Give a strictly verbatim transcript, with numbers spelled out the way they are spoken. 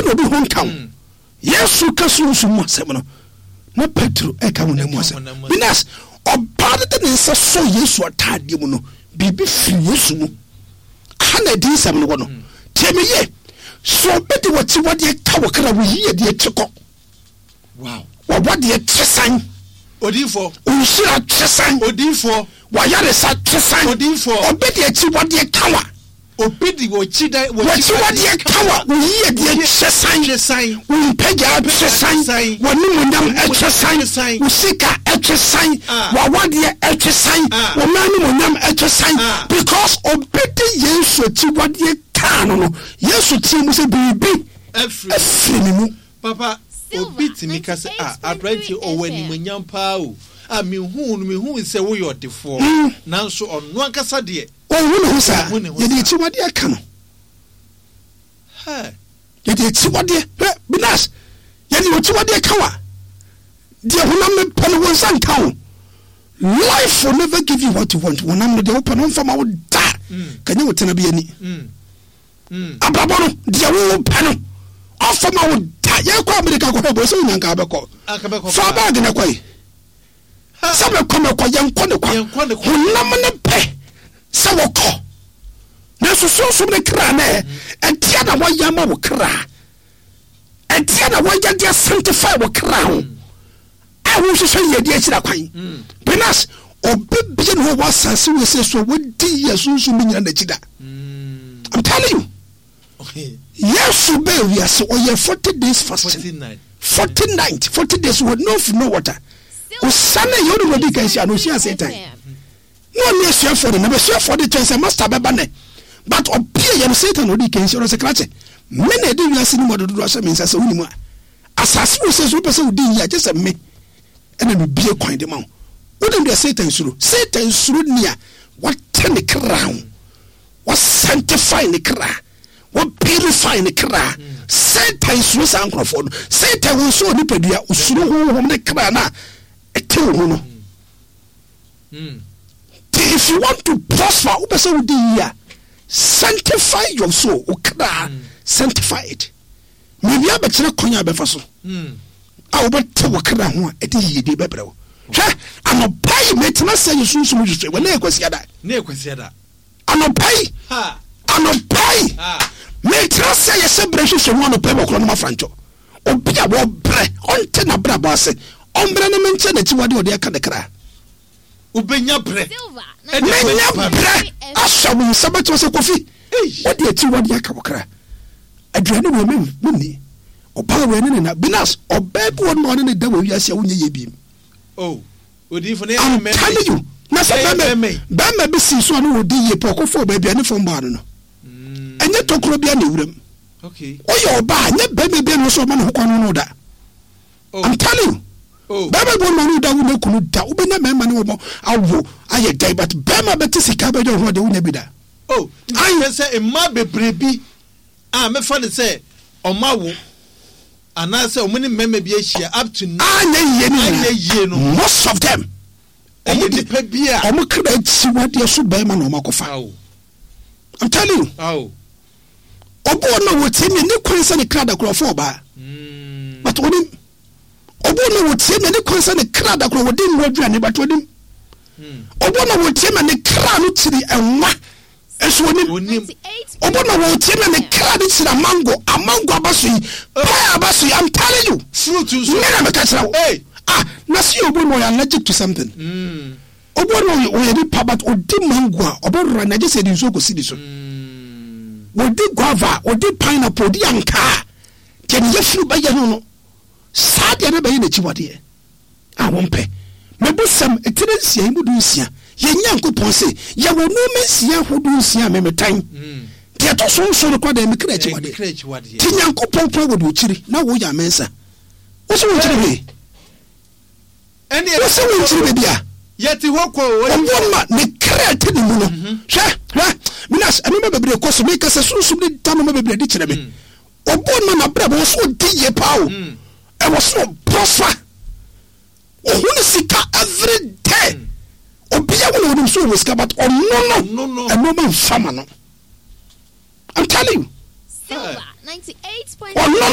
Obi na obi ho nka wo. Yesu ka sunsum mu asɛm no, na Petro ɛka honam mu asɛm. Binas, ɔbaa no de ne nsa sɔɔ Yesu ataadeɛ mu no, biribi firi Yesu mu. Aha na adiyisɛm no wɔ no. Tie me yie. Sɛ obi de w'akyiwadeɛ ka wo kra, wo yiedie te kɔ. Wow. W'awadeɛ te sɛn? Odiyifoɔ. Wo nhyira te sɛn? Odiyifoɔ. W'ayaresa te sɛn? Odiyifoɔ. Obi de akyiwadeɛ ka wa. Obi de wɔkyi W'akyiwadeɛ ka wa. Wo yiedie te sɛn? Te sɛn? Wo mpagyaa te sɛn? W'animuonyam te sɛn? Wo sika te sɛn? Ah. W'awadeɛ te sɛn? Ah. Wo mma animuonyam te sɛn? Ah. Because obi de Yesu akyiwadeɛ kaa no no, Yesu teɛ mu sɛ, biribi Afiri. afiri ne mu. Papa, obi tumi ka sɛ, "Ah, aberanteɛ ɔwɔ animuonyam paa o. A mehu no, mehu sɛ woyɛ ɔdefoɔ." Nanso ɔno ankasa deɛ, Ɔnhu ne ho saa. Ɔnhu ne ho Yɛde saa. akyiwadeɛ ka no. Hɛ, Yɛde akyiwadeɛ, hwɛ, Binas, yɛde akyiwadeɛ ka wa. Deɛ honam no pɛ no, wo nsa nka wo. Life will never give you what you want. Honam no deɛ wopɛ no, ɔmfa ma wo da. Kanyɛ wo tena bi ani. Abrabɔ no, deɛ wo pɛ no, ɔmfa ma wo da. Yɛkɔ Amerika kɔhwɛ bɔ sɛ wonya nka bɛkɔ. Anka bɛkɔ Fa paa. bag na kɔe. Sɛ mɛkɔ mɛkɔ, yɛnkɔ ne kwa. Yɛnkɔ ne kwa. Honam ne pɛ sɛ wɔkɔ. Nanso sunsum ne kra nɛ, ɛdeɛ na wɔyɛ ama wo kra. Ɛdeɛ na wɔyɛ de sanctify wo kra ho. A wohwehwɛ yiedie akyiri akwan. Binas, obi bie ne hɔ wɔ asase wɔ sɛ so a wɔdi yie sunsum bi nyina n'akyi da. I'm telling you. Yesu bɛɛ wiase, ɔyɛ forty days fasting. Forty night. Forty night, forty days with no food, no water. Osane yɛ ɔde wɔdi kan hyia no, ohyia Satan. Na ɔne asuafoɔ no, na asuafoɔ de kyɛn sɛ master bɛba nɛ. But ɔpie yɛ no, Satan na ɔdi kan hyia no sɛ, krakye, me na ɛde wiase no mu adododo ahyɛ me nsa sɛ wonim a. Asase wɔ sɛ so wopɛ sɛ wodi yie a, gye sɛ me ɛna mebie kwan de ma wo. Wonim deɛ Satan suro? Satan suro nea wate ne kra ho. Wasanctify ne kra, wapurify ne kra. Satan suro saa nkurɔfoɔ no. Satan wɔ nso nipadua, osuro honhom ne kra no a ɛte wo ho no. Nti if you want to prosper, wopɛ sɛ wodi yie a, sanctify your soul, wo kra, sanctify it. Mewia bɛkyerɛ kwan a bɛfa so a wobɛte wo kra ho a ɛde yiyedi bɛbrɛ wo. Hwɛ, anɔpa yi metena sɛ yɛ sunsum hwehwɛ wɔ ne yɛ Kwasiada. Ne yɛ Kwasiada. Anɔpa yi, Ha. anɔpa yi, Ha. metena sɛ yɛhyɛ berɛ hwehwɛ mu anɔpa yi wɔ korɔ no mafrantwɔ. Obi a wɔbrɛ, ɔnte n'abrabɔ ase, ɔmbrɛ ne menkyɛ n'akyiwade a ɔde aka ne kra. Wobɛnya berɛ. Menya berɛ ahyɛ wo nsa bɛkyerɛ sɛ, Kofi, wode akyiwade aka wo kra. Aduane wei menni. Ɔbaa wei ne ne na. Binas, ɔbaa bi wɔ no ma ɔne ne da wɔ wiase a wonyɛ yie biem. Oh, odiyifo ne I'm yɛ telling you. Na sɛ Ɛyɛ bɛrima bɛrima yi. bɛrima bi si so a na wɔdi yie pɛ, ɔkɔfa ɔbaa aduane fam baa no no. Ɛnyɛ tokuro bi a na ewuram. Okay. Woyɛ ɔbaa, nyɛ bɛrima bi a na ɔsɛ ɔma ne ho kwan no da. Oh. I'm telling you. Oh. Bɛrima bi wɔ no ma ɔne wo da, wo ne kunu da. Wobɛnya mmarima ne wɔn awo ayɛ dɛn, but bɛrima bɛte sika bɛdwa wo ho adeɛ, wonya bi da. Oh, Ayi. nti sɛ mmaa bebree bi a mefa ne sɛ ɔma wo anaasɛ ɔmo ne mmarima bi ahyia up to now Anyɛ yie ne anyɛ nyinaa. yie no, Most of them. Ɛyɛ Ɔmo de nipa bi a ɔmo kra akyiwadeɛ so bɛrima na ɔmo akɔfa. Awo. I'm telling you. Awo. Obi wɔ no a wɔtie me ne kwan sɛ ne kra da korɔ ɔfɔ ɔbaa. But onim. Obi wɔ no a wɔtie me ne kwan sɛ ne kra da korɔ wɔde nwa aduane, but onim. Obi wɔ no a wɔtie me ne kra no kyiri ɛnwa nso onim. Onim. Obi wɔ no a wɔtie me ne kra no kyiri amango, amango aba so yi, pɛɛ aba so yi, I'm telling you. Fruit nso. Me na meka kyerɛ wo. Hey. Ah, na se obi no ɔyɛ allergic to something. Mm. Obi no ɔyɛ nipa but ɔdi mango a ɔbɛrora na gye sɛ ɛde nsuo kɔsi ne so. Wɔdi guava, wɔdi pineapple, wɔdi ankaa. Deɛ ne yɛfunu bɛyɛ no no, saa deɛ no bɛyɛ n'akyiwadeɛ a wɔmpɛ. Mebusɛm etire nsia yi mu du nsia. Yɛn Nyankopɔn se, yɛwɔ nneɛma nsia ahodoɔ nsia a memetan. Deɛ ɛtɔ so nson no koraa deɛ, mekra akyiwadeɛ. Mekra akyiwadeɛ. Nti Nyankopɔn koraa wɔ deɛ ɔkyiri na woyɛ amensa. Wo sɛ wonkyiri hwee. Ɛne Wo sɛ wonkyiri baabi a. Yɛte hɔ kɔ o. Ɔwɔ ma ne kra te ne mu no. Hwɛ, hwɛ, Minas, nneɛma bebree kɔ so. Meka sɛ sunsum ne da nneɛma bebree adi kyerɛ me. Ɔbɔ ma n'abrabɔ wɔ so ɔdi yie paa o. Ɛwɔ so ɔprɔfa. Ɔhu ne sika every day. Obiara wɔ na onim so ɔwɔ sika, but ɔno no, Ɔno no. ɛnneɛma nfa ma no. I'm telling you. Silver ninety-eight point Ɔno